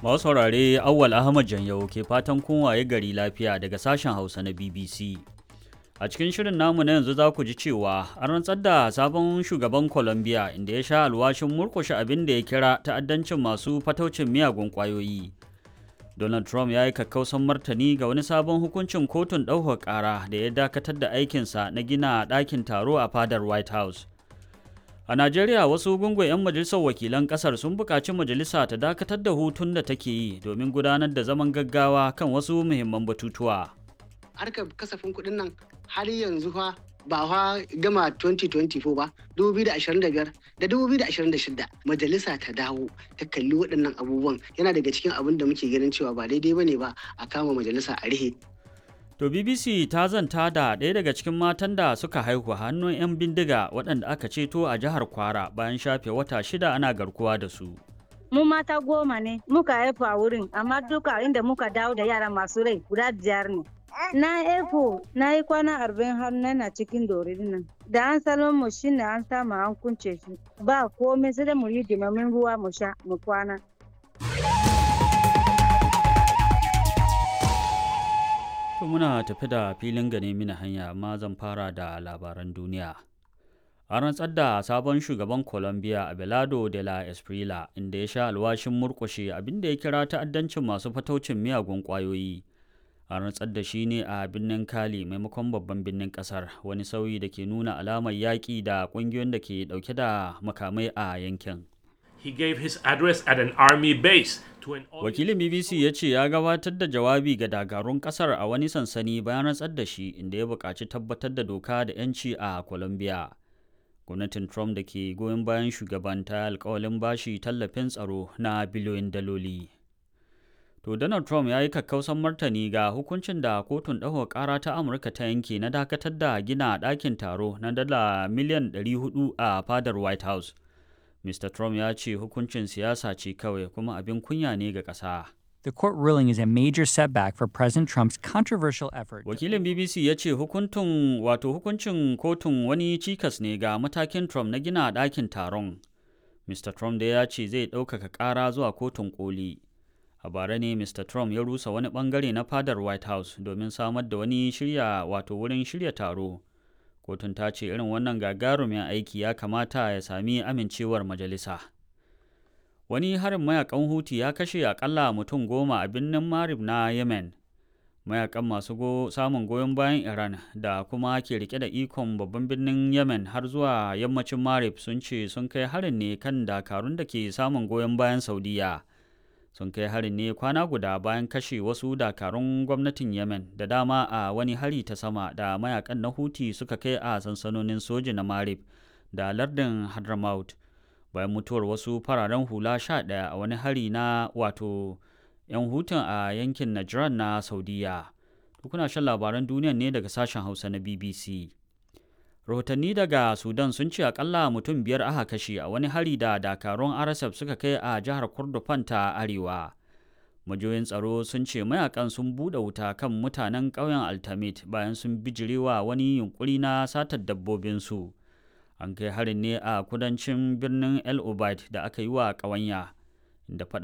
Masu saurare, Awwal Ahmad Janyau ke fatan kun waye gari lafiya daga sashen Hausa na BBC. A cikin shirin namu na yanzu za ku ji cewa an rantsar da sabon shugaban Colombia, inda ya sha alwashin murkushe abin da ya kira ta'addancin masu fataucin miyagun ƙwayoyi. Donald Trump ya yi kakkausan martani ga wani sabon hukuncin kotun ɗaukar ƙara da ya dakatar da aikinsa na gina ɗakin taro a fadar White House. A Najeriya, wasu gungun 'yan majalisar wakilan kasar sun buƙaci majalisa ta dakatar da hutun da take yi domin gudanar da zaman gaggawa kan wasu muhimman batutuwa. Harkar kasafin kuɗin nan har yanzu fa ba fa gama 2024 ba, 2025 da 2026. Majalisa ta dawo ta kalli waɗannan abubuwan. Yana daga cikin abin da muke ganin cewa ba daidai bane ba a kama majalisa a rihe. To, BBC ta zanta da ɗaya daga cikin matan da suka haihu hannun 'yan bindiga waɗanda aka ceto a jihar Kwara bayan shafe wata 6 ana garkuwa da su. Mu mata 10 ne muka haifu a wurin, amma duka inda muka dawo da yara masu rai guda biyar ne. Na haifu na yi kwana 40 har na cikin dorin nan. Da an salon mu shine an samu an kunce shi. Ba komai, sai dai mu yi dimamin ruwa mu sha mu kwana. To, muna tafi da filin gane mini hanya, amma zan fara da labaran duniya. An rantsar da sabon shugaban Colombia, Abelardo de la Espriella, inda ya sha alwashin murƙushe abin da ya kira ta'addancin masu fataucin miyagun ƙwayoyi. An rantsar da shi ne a birnin Cali maimakon babban birnin ƙasar, wani sauyi da ke nuna alamar yaƙi da ƙungiyoyin da ke ɗauke da makamai a yankin. He gave his address at an army base to an Wakilin BBC ya ce ya gabatar da jawabi ga dakarun kasar a wani sansani bayan rantsar da shi, inda ya buƙaci tabbatar da doka da 'yanci a Colombia. Gwamnatin Trump da ke goyon bayan shugaban ta alkawalin bashi tallafin tsaro na biliyoyin daloli. To, Donald Trump ya yi kakkausan martani ga hukuncin da kotun ɗaukar ƙara ta Amurka ta yanke na dakatar da gina ɗakin taro na dala miliyan 400 a fadar White House. Mr. Trump ya ce hukuncin siyasa ce kawai kuma abin kunya ne ga ƙasa. The court ruling is a major setback for President Trump's controversial effort. Wakilin BBC ya ce hukuntun wato hukuncin kotun wani cikas ne ga matakin Trump na gina ɗakin taron. Mr. Trump da ya ce zai ɗaukaka ƙara zuwa kotun koli. A bara ne Mr. Trump ya rusa wani ɓangare na fadar White House domin samar da wani shirya wato wurin shirya taro. Kotun ta ce irin wannan gagarumin aiki ya kamata ya sami amincewar majalisa. Wani harin mayakan Huti ya kashe akalla mutum 10 a birnin Marib na Yemen. Mayakan masu samun goyon bayan Iran da kuma ke rike da ikon babban birnin Yemen har zuwa yammacin Marib sun ce sun kai harin ne kan dakarun da ke samun goyon bayan Saudiya. Sun kai harin ne kwana guda bayan kashe wasu dakarun gwamnatin Yemen da dama a wani hari ta sama da mayakan na Huti suka kai a sansanonin soji na Marib da lardin Hadramaut, bayan mutuwar wasu fararen hula 11 a wani hari na wato 'yan Hutun a yankin Najran na Saudiya. Kuna shan labaran duniya ne daga sashen Hausa na BBC. Rahotanni daga Sudan sun ce akalla mutum biyar aka kashe a wani hari da dakarun RSF suka kai a jihar Kordofan ta Arewa. Majiyoyin tsaro sun ce mayakan sun buɗe wuta kan mutanen ƙauyen Altamit bayan sun bijirewa wani yunkuri na satar dabbobinsu. An kai harin ne a kudancin birnin El Obeid da aka yi wa ƙawanya, inda faɗan